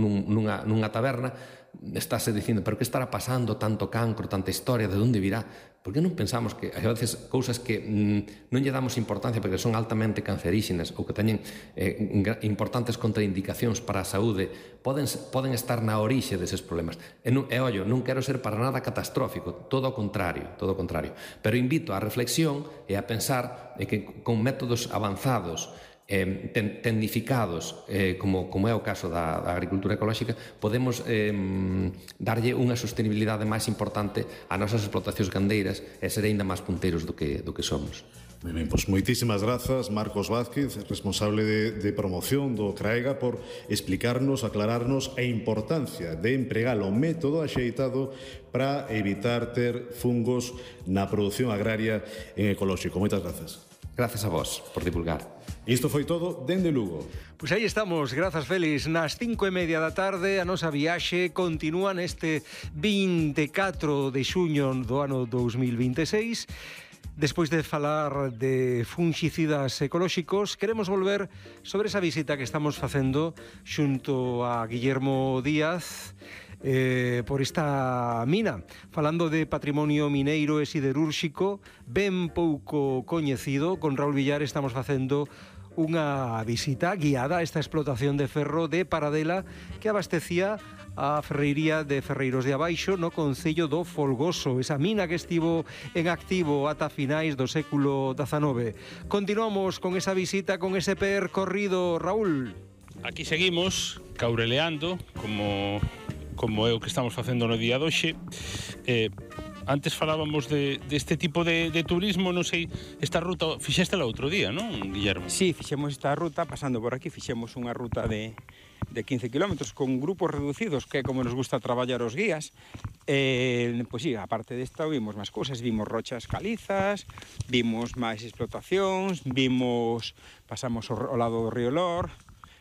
nunha taberna, estáse dicindo, pero que estará pasando, tanto cancro, tanta historia, de onde virá? Por que non pensamos que, a veces, cousas que non lle damos importancia porque son altamente cancerígenas ou que teñen importantes contraindicacións para a saúde, poden estar na orixe deses problemas. E, ollo, non quero ser para nada catastrófico, todo o contrario, pero invito á reflexión e a pensar que con métodos avanzados, tecnificados, como é o caso da agricultura ecolóxica, podemos darlle unha sostenibilidade máis importante ás nosas explotacións gandeiras e ser aínda máis punteiros do que somos. Moi ben, pois moitísimas grazas, Marcos Vázquez, responsable de promoción do CRAEGA, por explicarnos, aclararnos a importancia de empregar o método axeitado para evitar ter fungos na produción agraria en ecolóxico. Moitas grazas. Grazas a vos por divulgar. Isto foi todo dende Lugo. Pois aí estamos, grazas Félix. Nas 5:30 da tarde a nosa viaxe continúa neste 24 de xuño do ano 2026. Despois de falar de fungicidas ecolóxicos, queremos volver sobre esa visita que estamos facendo xunto a Guillermo Díaz por esta mina, falando de patrimonio mineiro e siderúrxico ben pouco coñecido. Con Raúl Villar estamos facendo unha visita guiada a esta explotación de ferro de Paradela que abastecía a ferreiría de Ferreiros de Abaixo no concello do Folgoso, esa mina que estivo en activo ata finais do século XIX. Continuamos con esa visita, con ese percorrido, Raúl. Aquí seguimos caureleando como é o que estamos facendo no día de hoxe. Antes falábamos deste tipo de turismo, non sei, esta ruta fixéstela outro día, non, Guillermo? Sí, fixemos esta ruta, pasando por aquí, fixemos unha ruta de 15 kilómetros con grupos reducidos, que é como nos gusta traballar os guías. Pois sí, aparte desta, vimos máis cousas, vimos rochas calizas, vimos máis explotacións, pasamos ao lado do río Lor,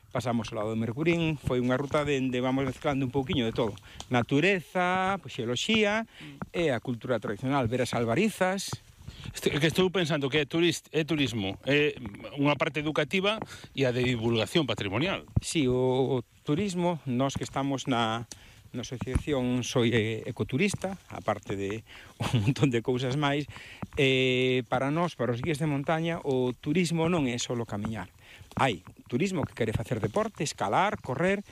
pasamos ao lado do Mercurín. Foi unha ruta onde vamos mezclando un pouquiño de todo. Natureza, xeoloxía e a cultura tradicional, ver as albarizas. Que estou pensando que é turismo, é unha parte educativa e a de divulgación patrimonial. Sí, o turismo, nós que estamos na asociación Soy Ecoturista, aparte de un montón de cousas máis, para nós, para os guías de montaña, o turismo non é só camiñar. Hai turismo que quere facer deporte, escalar, correr,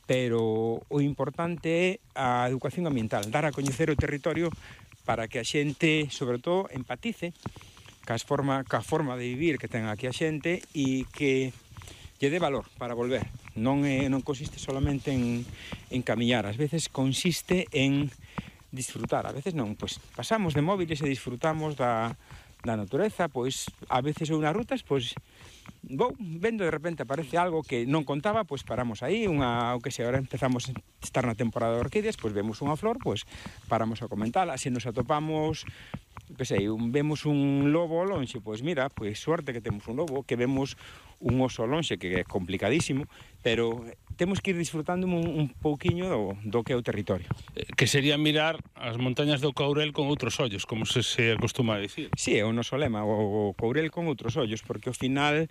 pero o importante é a educación ambiental, dar a coñecer o territorio para que a xente, sobre todo, empatice ca forma de vivir que ten aquí a xente e que lle dé valor para volver. Non consiste solamente en camiñar, ás veces consiste en disfrutar, a veces non, pois pasamos de móviles e disfrutamos da natureza, pois a veces ou nas rutas, pois vendo de repente aparece algo que non contaba, pois paramos aí, o que sei, agora empezamos a estar na temporada de orquídeas, pois vemos unha flor, pois paramos a comentala, se nos atopamos, que sei, vemos un lobo ao lonxe, pois mira, pois suerte que temos un lobo, que vemos un oso ao lonxe, que é complicadísimo, pero temos que ir disfrutando un pouquiño do que é o territorio. Que sería mirar as montañas do Courel con outros ollos, como se acostuma a dicir. Sí, é o noso lema, o Courel con outros ollos, porque ao final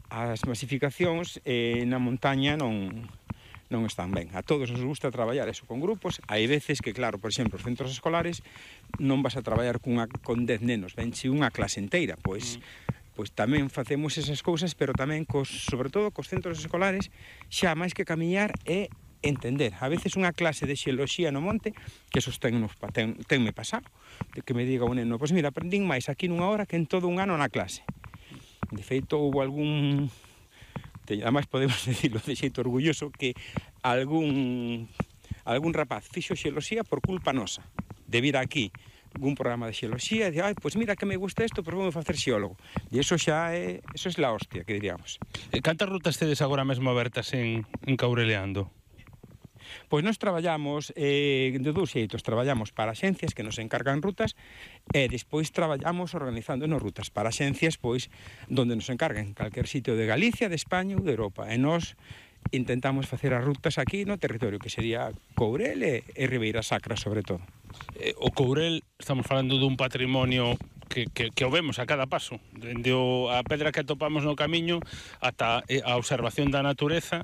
as masificacións na montaña non están ben. A todos nos gusta traballar eso con grupos. Hai veces que, claro, por exemplo, os centros escolares non vas a traballar con 10 nenos, venche unha clase inteira, pois tamén facemos esas cousas, pero tamén, sobre todo, cos centros escolares, xa máis que camiñar é entender. A veces unha clase de xeoloxía no monte, que esos tenme pasado, de que me diga un neno, pois mira, aprendín máis aquí nunha hora que en todo un ano na clase. De feito, houve ademais podemos decirlo de xeito orgulloso, que algún rapaz fixo xeoloxía por culpa nosa, de vir aquí algún programa de xeoloxía, e de, pois mira que me gusta isto, pois vou facer xeólogo. E eso é la hostia, que diríamos. Cantas rutas tedes agora mesmo abertas en Caureleando? Pois nós traballamos de dous xeitos. Traballamos para axencias que nos encargan rutas e despois traballamos organizándonos rutas para axencias pois donde nos encarguen calquer sitio de Galicia, de España ou de Europa. E nós intentamos facer as rutas aquí no territorio, que sería Courel e Ribeira Sacra, sobre todo. O Courel, estamos falando dun patrimonio que o vemos a cada paso, dende a pedra que atopamos no camiño ata a observación da natureza,